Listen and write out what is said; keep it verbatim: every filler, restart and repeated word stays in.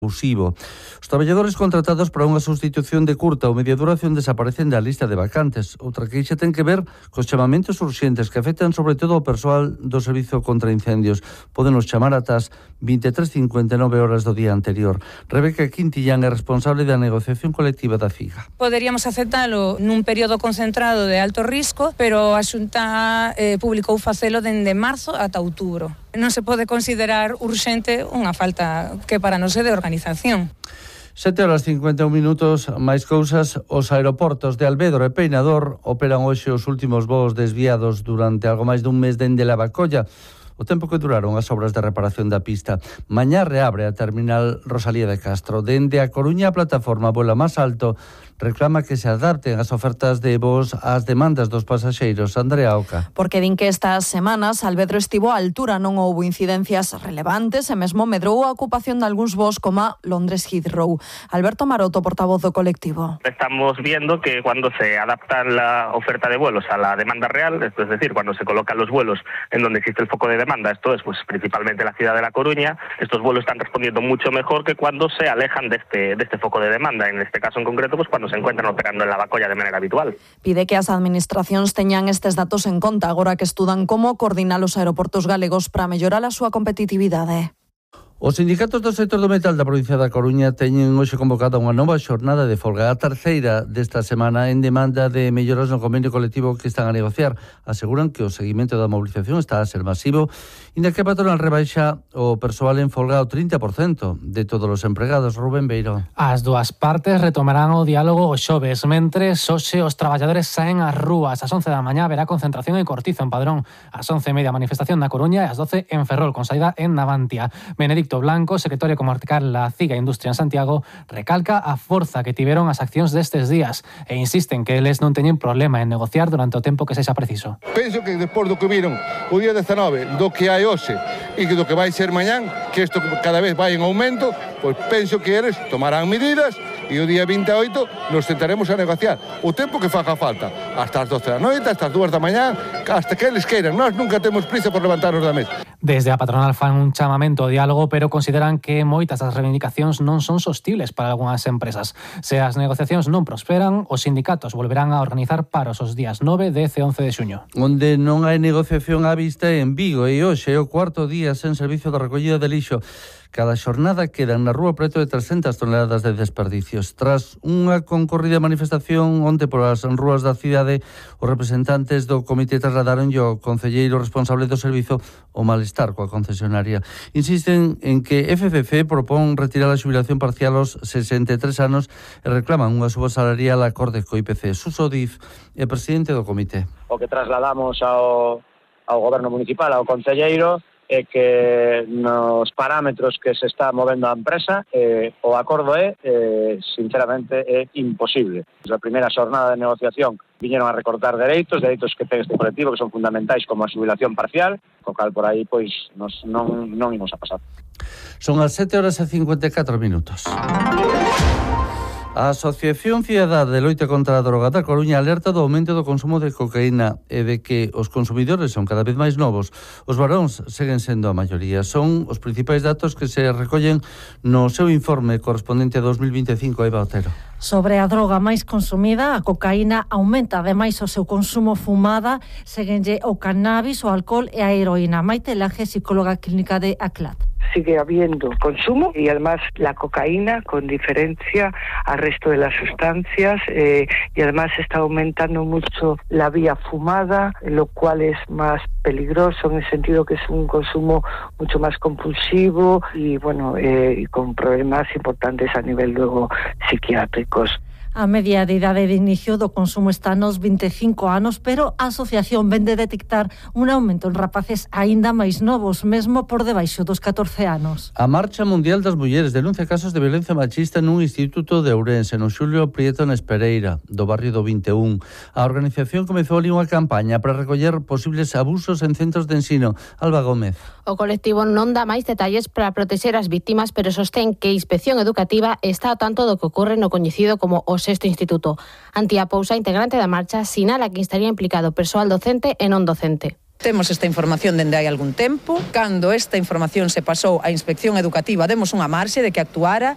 abusivo. Os traballadores contratados para unha sustitución de curta ou media duración desaparecen da lista de vacantes. Outra queixa ten que ver cos chamamentos urxentes que afectan sobre todo ao persoal do Servizo contra Incendios. Podenos chamar ata as vinte e tres cincuenta e nove horas do día anterior. Rebeca Quintillán é responsable da negociación colectiva da FIGA. Poderíamos aceptalo nun período concentrado de alto risco, pero a Xunta eh, publicou facelo dende marzo ata outubro. Non se pode considerar urxente unha falta que para non se de organización. sete horas cincuenta e un minutos, máis cousas. Os aeroportos de Alvedro e Peinador operan hoxe os últimos voos desviados durante algo máis dun mes dende Lavacolla, o tempo que duraron as obras de reparación da pista. Mañá reabre a terminal Rosalía de Castro. Dende a Coruña, a plataforma Vuela Más Alto reclama que se adapten as ofertas de voos ás demandas dos pasaxeiros. Andrea Oca. Porque din que estas semanas Alvedro estivo á altura, non houbo incidencias relevantes e mesmo medrou a ocupación de algúns voos como Londres Heathrow. Alberto Maroto, portavoz do colectivo. Estamos viendo que cuando se adapta la oferta de vuelos a la demanda real, esto es decir, cuando se colocan los vuelos en donde existe el foco de demanda, esto es pues principalmente la ciudad de La Coruña, estos vuelos están respondiendo mucho mejor que cuando se alejan de este, de este foco de demanda. En este caso en concreto, pues cuando se encuentran operando en Lavacolla de manera habitual. Pide que as administracións teñan estes datos en conta agora que estudan como coordinar os aeroportos galegos para mellorar a súa competitividade. Os sindicatos do sector do metal da provincia da Coruña teñen hoxe convocada unha nova xornada de folga, a terceira desta semana, en demanda de melloras no convenio colectivo que están a negociar. Aseguran que o seguimento da mobilización está a ser masivo, inda que a patronal rebaixa o persoal en folga ao trinta por cento de todos os empregados. Rubén Beiro. As dúas partes retomarán o diálogo o xoves, mentres hoxe os traballadores saen ás rúas. Ás once da mañá haberá concentración en Cortizo, en Padrón. Ás once e media manifestación na Coruña e ás doce en Ferrol, con saída en Navantia. Benedicto Blanco, secretario comarcal da CIGA Industria en Santiago, recalca a forza que tiveron as accións destes días e insisten que eles non teñen problema en negociar durante o tempo que sexa preciso. Penso que despois do que viron o día dezanove, do que hai hoxe e do que vai ser mañán, que isto cada vez vai en aumento, pois penso que eles tomarán medidas e o día vinte e oito nos sentaremos a negociar o tempo que faga falta, hasta as doce da noite, hasta as dúas da mañá, hasta que eles queiran. Nós nunca temos prisa por levantarnos da mesa. Desde a patronal fan un chamamento ao diálogo, pero consideran que moitas das reivindicacións non son sostibles para algunhas empresas. Se as negociacións non prosperan, os sindicatos volverán a organizar paros os días nove, dez e once de xuño. Onde non hai negociación á vista é en Vigo, e hoxe é o cuarto día sen servizo de recollida de lixo. Cada xornada quedan na rúa preto de trescentas toneladas de desperdicios. Tras unha concorrida manifestación onte polas rúas da cidade, os representantes do comité trasladaron ao concelleiro responsable do servizo o malestar coa concesionaria. Insisten en que F C C propón retirar a xubilación parcial aos sesenta e tres anos e reclaman unha suba salarial acorde co I P C. Suso Diz é presidente do comité. O que trasladamos ao, ao goberno municipal, ao concelleiro, é que nos parámetros que se está movendo a empresa eh, o acordo é, eh, sinceramente, é imposible. A primeira xornada de negociación viñeron a recortar dereitos, dereitos que ten este colectivo que son fundamentais como a xubilación parcial, co cal por aí pois nos, non, non imos a pasar. Son as sete horas e cincuenta e catro minutos. A Asociación Cidadá de Loita contra a Droga da Coruña alerta do aumento do consumo de cocaína e de que os consumidores son cada vez máis novos. Os varóns seguen sendo a maioría. Son os principais datos que se recollen no seu informe correspondente a dos mil vinte e cinco, Eva Otero. Sobre a droga máis consumida, a cocaína aumenta, ademais o seu consumo fumada, seguenlle o cannabis, o alcohol e a heroína. Maite Laje, psicóloga clínica de ACLAD. Sigue habiendo consumo y además la cocaína con diferencia al resto de las sustancias eh, y además está aumentando mucho la vía fumada, lo cual es más peligroso en el sentido que es un consumo mucho más compulsivo y bueno eh, con problemas importantes a nivel luego psiquiátricos. A media de idade de inicio do consumo está nos vinte e cinco anos, pero a asociación vende detectar un aumento en rapaces aínda máis novos, mesmo por debaixo dos catorce anos. A Marcha Mundial das Mulleres denuncia casos de violencia machista nun instituto de Ourense, no Xulio Prieto na Espereira, do barrio do vinte e un. A organización comezou ali unha campaña para recoller posibles abusos en centros de ensino. Alba Gómez. O colectivo non dá máis detalles para protexer as vítimas, pero sostén que a Inspección Educativa está ao tanto do que ocorre no coñecido como o sexto instituto. Antía Pousa, integrante da marcha, sinala que estaría implicado persoal docente e non docente. Temos esta información dende hai algún tempo. Cando esta información se pasou á Inspección Educativa, demos unha marxe de que actuara